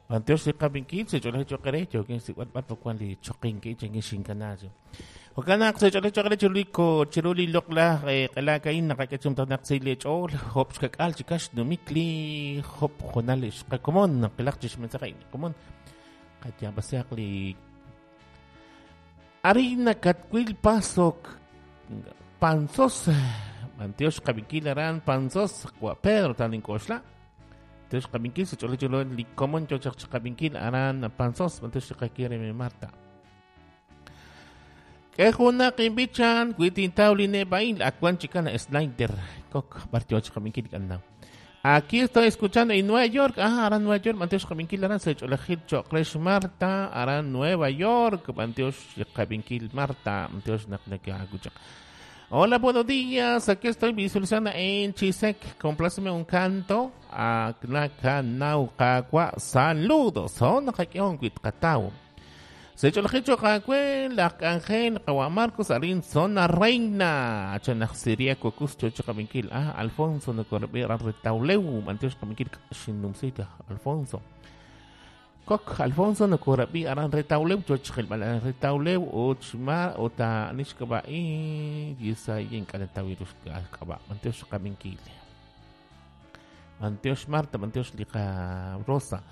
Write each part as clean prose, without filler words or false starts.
B'antiox li qab'inkil sech'olej cho'q re yookin xsik'b'al b'ar wan li choqink chankin xinkana chi. Jo'kan naq sech'olej cho'q re chiru li ko chiru li loq'laj q'elaak a'in naqak'e chumtajenaq si li ch'ool job' xkak'al chi kax numik li job' junal xqakomon qilaq chi xmensaje a'in komon qayaab'asihaq li Arina Katwil Paso Panzos B'antiox qab'inkil aran Panzos wa Pedro talink'oxla Tiox qab'inkil sa ch'olej ch'oloj li komon yo chaq chiqab'inkil aran Panzos b'antiox li qakire mi Marta. K'e junaq inb'ichan wi tintaw li neb'a'il ak wan chikan slider kok b'ar yo chiqab'inkil k'annaw. Aquí estoy escuchando en Nueva York. Ah, aran Nueva York. B'antiox qab'inkil aran sa ch'olejil cho'q re Marta. Aran Nueva York. B'antiox qab'inkil Marta. B'antiox naq nakaakuchaq. Hola, buenos días. Aquí estoy visualizando en Chisec. Compláceme un canto. Aknakanauqawa. Saludos. Son nakak'ehon witqataw. Sech'olejil cho'q aawe laj k'anjel qawa' Marcos arin Zona Reina. Chanaj Siriaco Cusco chiqab'inkil. Ah, Alfonso nakorab'i aran Retauleu. B'antiox qab'inkil xinnumsita Alfonso. Kok Alfonso nakorab'i aran Retauleu chochqilb'al aran Retauleu uchma uta nixk'ab'a'i yisayin k'anatawirux k'ab'a. B'antiox qab'inkil. B'antiox Marta, b'antiox Liqa Rosa.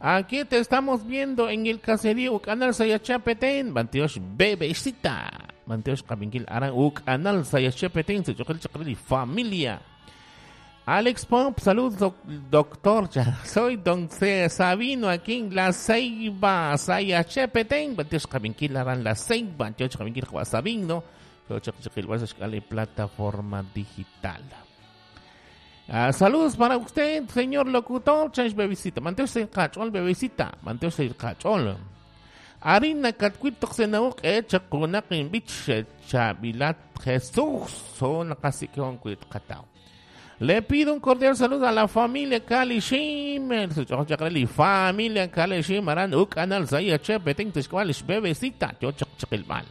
Aquí te estamos viendo en el caserío Canal Sayachapeten, b'antiox Bebecita. B'antiox qab'inkil aran u Canal Sayachapeten, sech'oqil chaqrili familia. Alex Pop, saludos doctor. Soy don C. Sabino aquí en La Ceiba, Sayachapeten, b'antiox qab'inkil aran La Ceiba, b'antiox qab'inkil Juan Sabino, plataforma digital. Ah, saludos para usted, señor locutor. Change bebecita. Manteos el cachol, bebecita. Manteos el cachol. Harina katkuitok senauk echa kunak bich chabilat Jesús. Son kasikion kuit katao. Le pido un cordial saludo a la familia Kalishim. Familia Kalishim. Aran uk anal saya chepe ting tishkwalish bebecita. Yo chak chakilmal.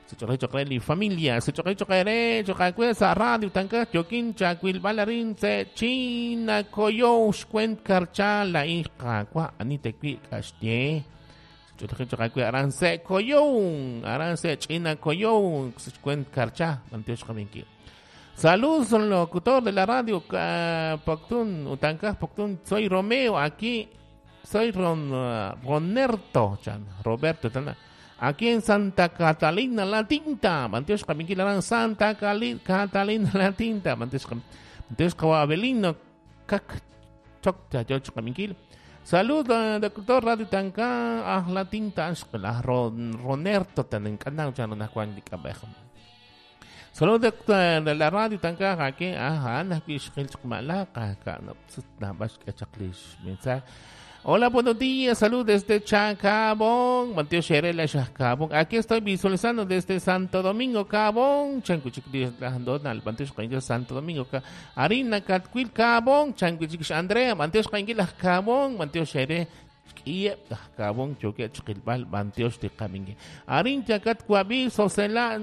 Sech'olej familia, sech'olej choqere, choqakwe sa radio tanka chokin chakwil balarin se china koyo xkwent karcha la hija kwa anite kwi kashtie. Sech'olej choqakwe aran se koyo, aran se china koyo xkwent karcha, mantiox qaminki. Saludos locutor de la radio Poctun, Utanka Poctun, soy Romeo aquí, soy Ron, Ronerto, chan, Roberto, tana. Aquí en Santa Catalina La Tinta, Mantiox Qabinkil aran Santa Catalina La Tinta, Mantiox Abelino Kak Chocta Yoch Qabinkil. Saludos, doctor Radio Tanka, ah La Tinta, ah Ronerto tanen kanao chano na Juan di Kabejo. Saludos de la radio Tanka, aquí, ah, ana kishkil chukmalaka, ka no na bash kachaklish mensaje. Hola, buenos días, saludos desde Chacabón, Mateo Xerela, Chacabón. Aquí estoy visualizando desde Santo Domingo, Cabón, Chancuchic, Donald, Mateo Santo Domingo, Harina, Catquil, Cabón, Chancuchic, Andrea, Mateo Cabón, Mateo Xere, Cabón, Choque, Chiquilbal, Mateo Ticamingue. Harin, Chacat, Cuabi, Sosela,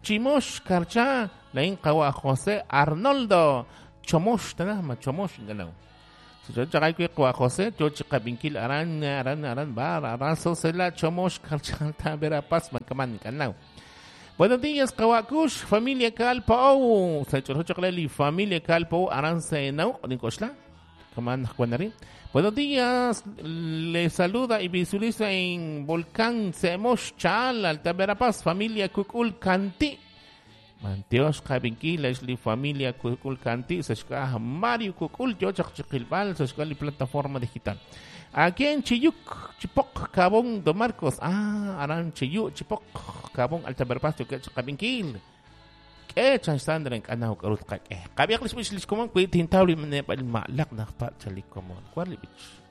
Chimosh, Carcha, Lain, Kawa, José, Arnoldo, Chomosh, Tanama, Chomosh, Ganao. Chaqay kwa José, choch qabinkil aran aran aran bar aran sosela chomosh karchalta verapaz mankaman kanao. Buenos días, Kawakush, familia Calpo. Sech'olej familia Calpo aran senau ninkoxla. Kaman Juanarín. Buenos días, le saluda y visualiza en Volcán Semosh Chal, Alta Verapaz, familia Kukul Kanti. Manteos Qabinkil, li familia Kukul Kanti, sexka Mario Kukul, Yochaq Chiquilbal, sexka li plataforma digital. Aquí en Chiyuc, Chipok, Cabón, Don Marcos. Ah, aran Chiyuc, Chipok, Cabón, Alta Verapaz, Qabinkil. Ke chan sandren kanao karut qak. Qabiq lish bish lish komon kuit tintawli min malaq naqpa chalik komon. Kwali bich.